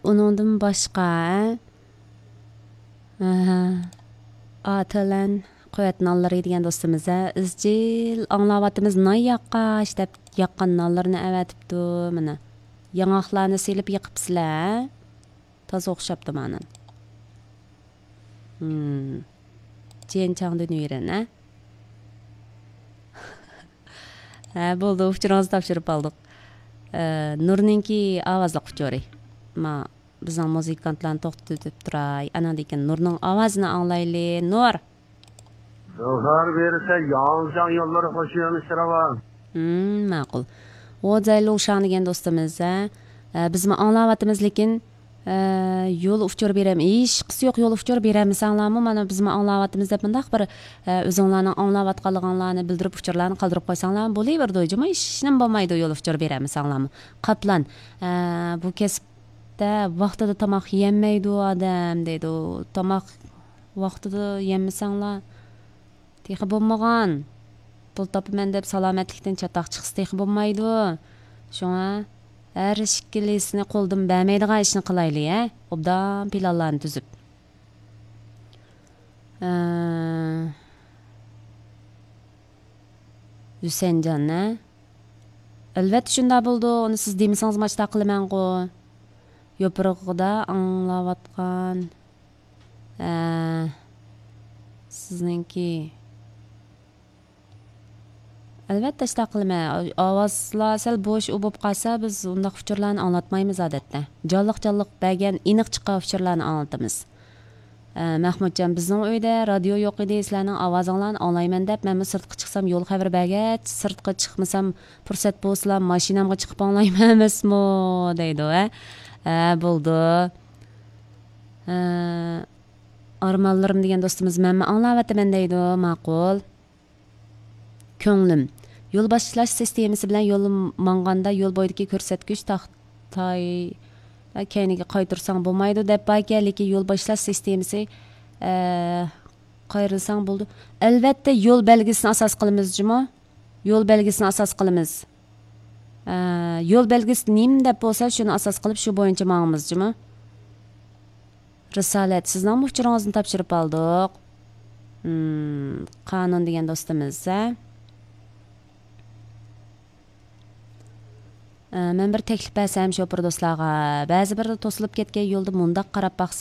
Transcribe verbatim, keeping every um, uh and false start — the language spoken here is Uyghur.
ئۇنىڭدىن باشقا، ئەھە، ئاتىلەن قۇۋۋەت نانلىرى دېگەن دوستىمىز، ھە، ئىزچىل ئاڭلاۋاتىمىز، نان ياققاچ دەپ ياققان نانلىرىنى ئەۋەتىپتۇ، مانا. ياڭاقلارنى سېلىپ يېقىپسىلەر، ھە؟ تازا ئوخشاپتۇ مانا. ھىم. جيەنچاڭدىن يۈرەن، ھە؟ ھە، بولدى، ئۇچۇرىڭىزنى تاپشۇرۇپ ئالدۇق. ئە، نۇرنىڭكى ئاۋازلىق ئۇچۇرى. ما، بىزنىڭ مۇزىكانتلارنى توختىتىپ تۇراي. ئاناندىن كېيىن نۇرنىڭ ئاۋازىنى ئاڭلايلى. نۇر! زوھار بېرىسە ياڭزاڭ يوللىرى قوشۇۋېرىمىز راۋان. ھىم، ماقۇل. ۋو زەي لۇشاڭ دېگەن دوستىمىز، ھە. ئە، بىزمۇ ئاڭلاۋاتىمىز، لېكىن، ئە، يول ئۇچۇر بېرەم-، ھېچقىسى يوق، يول ئۇچۇر بېرەلمىسەڭلارمۇ، مانا بىزمۇ ئاڭلاۋاتىمىز دەپ مۇنداق بىر، ئە، ئۆزۈڭلارنىڭ ئاڭلاۋاتقانلىقىڭلارنى بىلدۈرۈپ ئۇچۇرلارنى قالدۇرۇپ قويساڭلارمۇ بولۇۋېرىدۇ، جۇمۇ ھېچنېمە بولمايدۇ، يول ئۇچۇر بېرەلمىسەڭلارمۇ. قاپلان، ئە، بۇ كەسىپتە ۋاقتىدا تاماق يېيەلمەيدۇ ئادەم دەيدۇ. تاماق ۋاقتىدا يەممىسەڭلار، تېخى بولمىغان. پۇل تاپىمەن دەپ سالامەتلىكتىن چاتاق چىقسا تېخى بولمايدۇ. شۇڭا ھەر ئىككىلىسىنى قولدىن بەرمەيدىغان ئىشنى قىلايلى، ھە؟ ئوبدان پىلانلارنى تۈزۈپ. ئە، ھۈسەنجان، ھە؟ ئەلۋەتتە شۇنداق بولىدۇ. ئۇنى سىز دېمىسىڭىزمۇ ئاشۇنداق قىلىمەنغۇ. يوپۇرغىدا ئاڭلاۋاتقان. ئە، سىزنىڭكى. ئەلۋەتتە، شۇنداق قىلىمەن. ئاۋازلار سەل بوش ئۇ بولۇپ قالسا، بىز ئۇنداق ئۇچۇرلارنى ئاڭلاتمايمىز ئادەتتە. جانلىق-جانلىق بەرگەن، ئېنىق چىققان ئۇچۇرلارنى ئاڭلىتىمىز. ئە، مەخمۇتجان، بىزنىڭ ئۆيدە رادىيو يوق ئىدى، سىلەرنىڭ ئاۋازىڭلارنى ئاڭلايمەن دەپ، مەنمۇ سىرتقا چىقسام يول خەۋىرى بەرگەچ، سىرتقا چىقمىسام پۇرسەت بولسىلا ماشىنامغا چىقىپ ئاڭلايمەن ئەمەسمۇ، دەيدۇ، ھە؟ ھە، بولىدۇ. ھە، ئارمانلىرىم دېگەن دوستىمىز، مەنمۇ ئاڭلاۋاتىمەن دەيدۇ، ماقۇل. كۆڭلۈم. يول باشلاش سىستېمىسى بىلەن يول ماڭغاندا يول بويىدىكى كۆرسەتكۈچ تاختاي، كەينىگە قايتۇرساڭ بولمايدۇ دەپ باركەن، لېكىن يول باشلاش سىستېمىسى، ئە، قايرىلساڭ بولىدۇ. ئەلۋەتتە، يول بەلگىسىنى ئاساس قىلىمىز جۇمۇ. يول بەلگىسىنى ئاساس قىلىمىز. ئە، يول بەلگىسى نېمە دەپ بولسا، شۇنى ئاساس قىلىپ، شۇ بويىچە ماڭىمىز جۇمۇ. رىسالەت، سىزنىڭمۇ ئۇچۇرىڭىزنى تاپشۇرۇپ ئالدۇق. ھىم، قانۇن دېگەن دوستىمىز، ھە؟ ئە، مەن بىر تەكلىپ بەرسەم شوپۇر دوستلارغا، بەزى بىر توسۇلۇپ كەتكەن يولدا مۇنداق قاراپ باقسا،